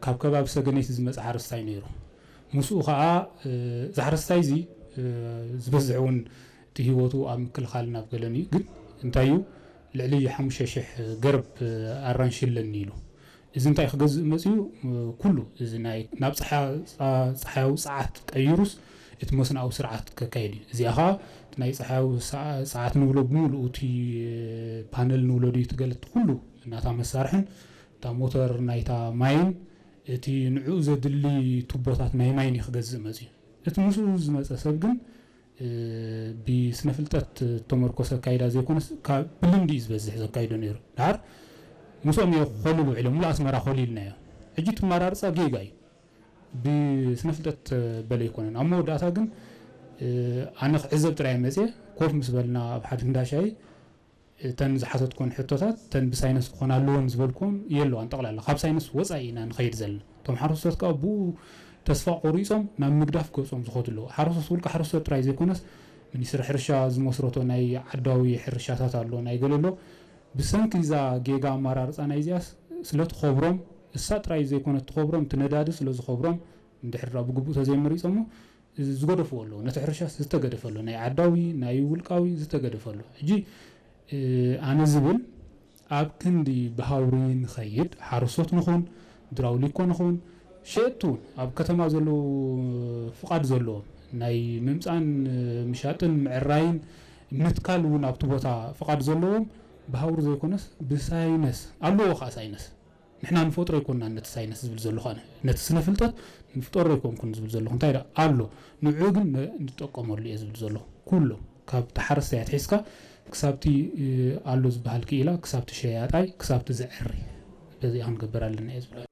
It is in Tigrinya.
ካብ ከባቢ ሰገነይቲ ዝመፀ ሓረስታይ ነይሩ። ምስኡ ከዓ እዚ ሓረስታይ እዚ ዝበዝሕ እውን እቲ ህይወቱ ኣብ ምክልኻልን ኣብ ገለን እዩ። ግን እንታይ እዩ፣ ልዕሊ ሓሙሽተ ሽሕ ገርብ ኣራንሺ ኣለኒ ኢሉ። እዚ እንታይ ክገዝእ መፅዩ? ኩሉ እዚ ናይ ናብ ፀሓያዊ ፀዓት ቀይሩስ እቲ መስናዊ ስርዓት ከካየድ እዩ። እዚኣ ከዓ ናይ ፀሓያዊ ፀዓት ንብሎ ብምሉኡ እቲ ፓነል ንብሎ ድዩ ትገለት ኩሉ ናታ መሳርሕን እታ ሞተር ናይታ ማይን እቲ ንዕኡ ዘድሊ ቱቦታት ናይ ማይን እዩ ክገዝእ መፅዩ። እቲ ምስኡ ዝመፀ ሰብ ግን ብስነ ፍልጠት ተመርኮሰ ኣካይዳ ዘይኮነስ ካብ ብልምዲ እዩ ዝበዝሕ ዘካይዶ ነይሩ። ድሓር ምስኦም እየ ክኾልል ውዒለ ሙሉ ኣስመራ ኮሊልናዮ። ሕጂ ትመራርፃ ጌጋ እዩ። ብስነ ፍልጠት በለ ኣይኮነን። ኣብ መወዳእታ ግን ኣነ ክዕዘብ ጥራይ መፅየ ኮፍ ምስ በልና ኣብ ሓደ እንዳሻይ እተን ዝሓተትኮን ሕቶታት እተን ብሳይነስ ክኾና ኣለዎን ዝበልኩም የለዋን። ጠቕላላ ካብ ሳይነስ ወፃኢ ኢና ንኸይድ ዘለና። እቶም ሓረስቶት ከዓ ብኡ ተስፋ ቆሪፆም ናብ ምግዳፍ ገፆም ዝኸዱ ኣለዉ። ሓረስቶት ውልቀ ሓረስቶት ጥራይ ዘይኮነስ ሚኒስትሪ ሕርሻ ዝመስረቶ ናይ ዓዳዊ ሕርሻታት ኣሎ ናይ ገለ ኣሎ። ብሰንኪ እዛ ጌጋ ኣመራርፃ ናይዚኣስ ስለትኸብሮም እሳ ጥራይ ዘይኮነት ትኸብሮም እቲ ነዳዲ ስለዝኸብሮም እንድሕር ብግቡእ ተዘይመሪፆሞ ዝገደፍዎ ኣለዉ። ነቲ ሕርሻስ ዝተገደፈ ኣሎ ናይ ዓዳዊ ናይ ውልቃዊ ዝተገደፈ ኣሎ። ሕጂ ኣነ ዝብል ኣብ ክንዲ ብሃውሪ ንኸይድ ሓረስቶት ንኹን ድራውሊኮ ንኹን ሸየጥቲ እውን ኣብ ከተማ ዘለዉ ፍቓድ ዘለዎም ናይ ምምፃን ምሻጥን ምዕራይን ምትካል እውን ኣብቲ ቦታ ፍቓድ ዘለዎም ብሃውሪ ዘይኮነስ ብሳይነስ ኣለዎ ከዓ ሳይነስ ንሕና ንፈጥሮ ኣይኮንና ነቲ ሳይንስ ዝብል ዘለኹ ኣነ ነቲ ስነ ፍልጠት ንፍጠሮ ኣይኮንኩን ዝብል ዘለኹ እንታይ ኣሎ ንዑ ግን ንጠቀመሉ እየ ዝብል ዘለኹ ኩሎም ካብ ተሓረስታይ ኣትሒዝካ ክሳብቲ ኣሎ ዝበሃል ክኢላ ክሳብቲ ሸያጣይ ክሳብቲ ዘዕሪ በዚ ክንገብር ኣለና እየ ዝብል